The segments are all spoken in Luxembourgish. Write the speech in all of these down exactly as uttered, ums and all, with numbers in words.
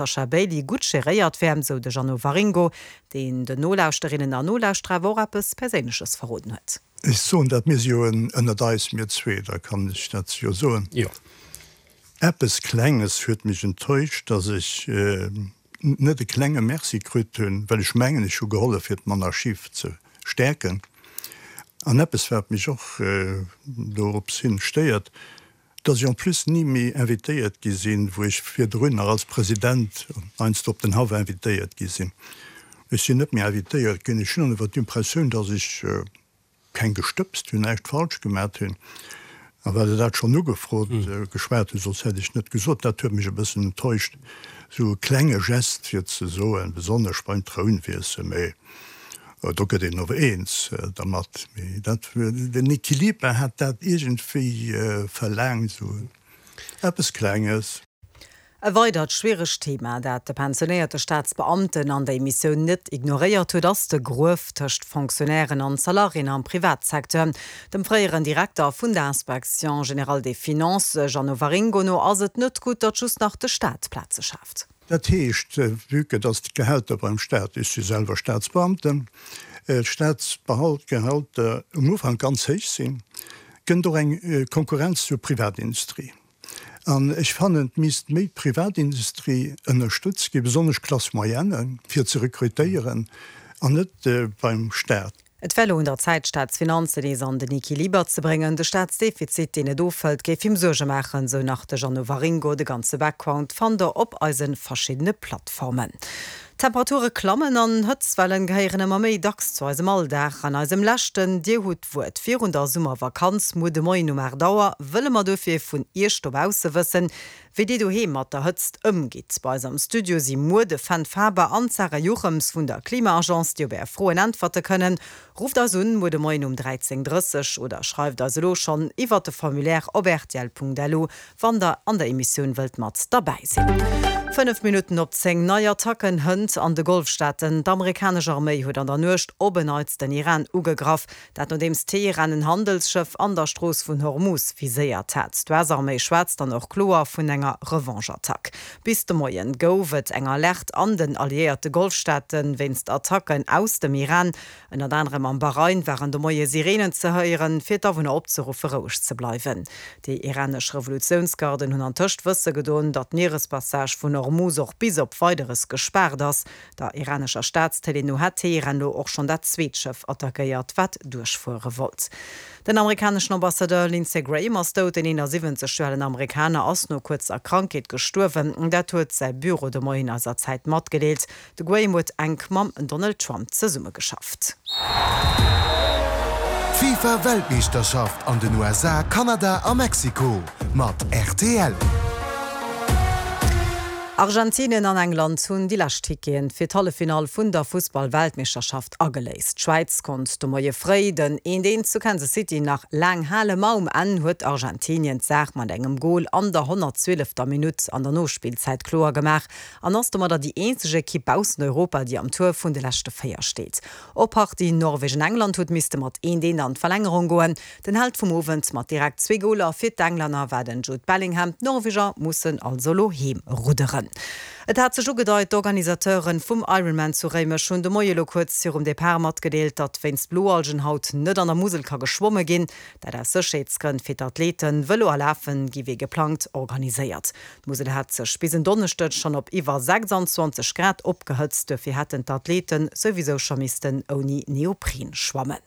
Sasha Bailey gutt geréiert wär, sou de Jeannot Waringo, deen den Nolauschterinnen an Nolauschterer awer och eppes Perséinleches verroden huet. Ech soen dat, mir si jo ënnert eis, mir zwee, da kann ech dat jo soen. Jo. Eppes Klenges huet mech enttäuscht, dass ech net e klenge Merci kritt hunn, well ech mengen, ech hu gehollef fir d'Monarchie ze stäerken. An eppes wat mech och dorops hin stéiert, dass ech en plus ni méi invitéiert gi sinn, wou ech virdrun nach als President heiansdo op den Haff invitéiert gi sinn. Ech sinn net méi invitéiert ginn. Ech hunn awer d'Impressioun, dass ech keng gestëbst hunn, näischt falsch gemat hunn. A well Der dat schonn ugefrot, geschwat hutt, soss hätt ech net gesot, dat huet mech e bëssen enttäuscht, esou e klenge Gest fir ze soen, besonnesch beim Trounwiessel, mee do gëtt een ower eens dermat, mee dat, den Equiliber hat dat iergendwéi verlaangt, esou eppes Klenges. E weidert schwieregt Thema, dat de pensionéierte Staatsbeamten an der Emissioun net ignoréiert huet, ass de Gruef tëscht Fonctionnairen an Salariéen am Privatsecteur. Dem fréieren Direkter vun der Inspection générale des finances, Jeannot Waringo, no ass et net gutt, datt just nach de Staat Plaze schaaft. Dat heescht, vue que dass d'Gehälter beim Staat, ech si selwer Staatsbeamten, d'Staatsbehaltgehälter um Ufank ganz héich sinn, kënnt och eng Konkurrenz zur Privatindustrie. An ech fannen, et misst méi d'Privatindustrie ënnerstëtzt ginn, besonnesch d'Classe moyenne, fir ze rekrutéieren, an net beim Staat. Et wär elo un der Zäit, d'Staatsfinanzen nees an den Equiliber ze bréngen. De Staatsdefizit, deen net ofhëlt, géif him Suerge maachen, sou nach de Jeannot Waringo. De ganze Background fannt der op eise verschiddene Plattformen. D'Temperature klammen an Hëtztwellen gehéieren ëmmer méi dacks zu eisem Alldag. An eisem leschten Dir hutt d'Wuert virun der Summervakanz muer de Moien um aacht Auer wëlle mer dofir vun Iech dobausse wëssen, wéi Dir doheem mat der Hëtzt ëmgitt. Bei eis am Studio si muer de Fenn Faber an d'Sarah Juchems vun der Klima-Agence, déi op Är Froen äntwerte kënnen. Rufft eis un muer de Moien um dräizéng drësseg oder schreift eis elo schonn iwwert de Formulaire op rtl.lu, wann der an der Emissioun wëllt mat derbäi sinn. Fënnef Minutten op zéng, Nei Attacken hënt an de Golfstaaten. D'amerikanesch Arméi huet an der Nuecht op en Neits den Iran ugegraff. Dat nodeems Teheran en Handelsschëff an der Strooss vun Hormuz viséiert hat. D'U S-Arméi schwätzt dann och kloer vun enger Revanche-Attack. Bis de Moien gouf et eng Alerte an den alliéierte Golfstaate wéinst Attacken aus dem Iran. Ënnert anerem am Bahrain waren de Moie Sireenen ze héieren, fir d'Awunner opzeruffe roueg ze bleiwen. Déi iranesch Revolutiounsgarden hunn antëscht wësse gedoen, datt d'Mierespassage vun Hormuz och bis op Weideres gespaart ass. Der iranescher Staatstélé no hätt Teheran elo och schonn dat zweet Schëff attackéiert, wat duerchfuere wollt. Den amerikaneschen Ambassadeur Lindsey Graham ass dout. Den eenasiwwenzeg Joer alen Amerikaner ass no kuerzer Krankheet gestuerwen. Dat huet säi Büro de Moien eiser Zäit matgedeelt. De Graham huet enk mam Donald Trump zesummegeschafft. D'FIFA Weltmeeschterschaft an den U S A, Kanada a Mexiko mat R T L. Argentinien an England hunn déi lescht Ticketen fir d'Halleffinall vun der Fussball-Weltmeeschterschaft ageléist. D'Schwäiz konnt de Moie fréi den eent eent zu Kansas City nach laang halen, ma um Enn huet Argentinien d'Saach mat engem Gol an der honnertzwielefter Minutt an der Nospillzäit kloer gemaach an ass domadder déi eenzeg Ekipp baussent Europa, déi am Tour vun de leschte véier steet. Och d'Partie Norwegen-England huet misste mat eent eent an d'Verlängerung goen. Den Held vum Owend mat direkt zwee Goler fir d'Englänner war den Jude Bellingham. D'Norweger mussen also elo heem rudderen. Et hat sech ugedeit, D'Organisateuren vum Ironman zu Réimech hunn de Moie lo kuerz virum Depart matgedeelt, datt wéinst Bloalgen haut net an der Musel ka geschwomme ginn. Dat aus Sécherheetsgrënn fir d'Athleten. Vëlo a Lafen gi wéi geplangt organiséiert. D'Musel hat sech bis en Donneschdeg schonn op iwwer sechsanzwanzeg Grad opgehëtzt, duerfir hätten d'Athleten souwisou scho missten ouni Neopren schwammen.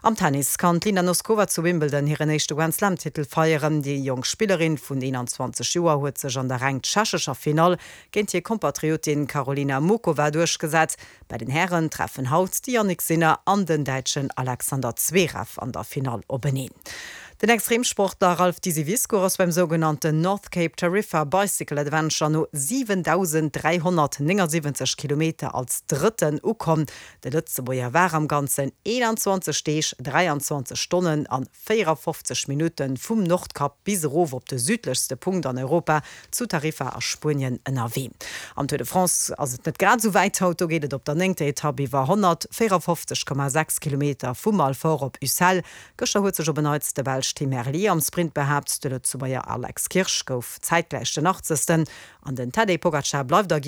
Am Tennis kann d'Linda Noskova zu Wimbledon hiren éischte Grand-Slam-Titel feieren. Déi jonk Spillerin vun eenanzwanzeg Joer huet sech an der reng tschechescher Finall géint hir Kompatriotin Karolina Muchova duerchgesat. Bei den Hären treffen haut de Jannik Sinner an den Däitschen Alexander Zverev an der Finall openeen. Den Extremsportler Ralph Disivisco ass beim sougenannten North Cape Tarifa Bicycle Adventure no siwentausend dräihonnertnéngasiwwenzeg Kilometer als Drëtten ukomm. De Lëtzebuerger war am Ganzen eenanzwanzeg Deeg, dräianzwanzeg Stonnen an véierafofzeg Minutte vum Nordkap bis erof op de südlechste Punkt an Europa zu Tarifa a Spuenien ënnerwee. Am Tour de France ass et net grad esou wäit haut, do geet et op der néngter Etapp iwwer honnertvéierafofzeg Komma sechs Kilometer vu Alfort op Ussel. Gëschter huet sech op en Neits de Belsch Tim Merlier am Sprint behaapt, de Lëtzebuerger Alex Kirsch gouf zäitgläich den achtzegsten an den Tadej Pogacar bleift a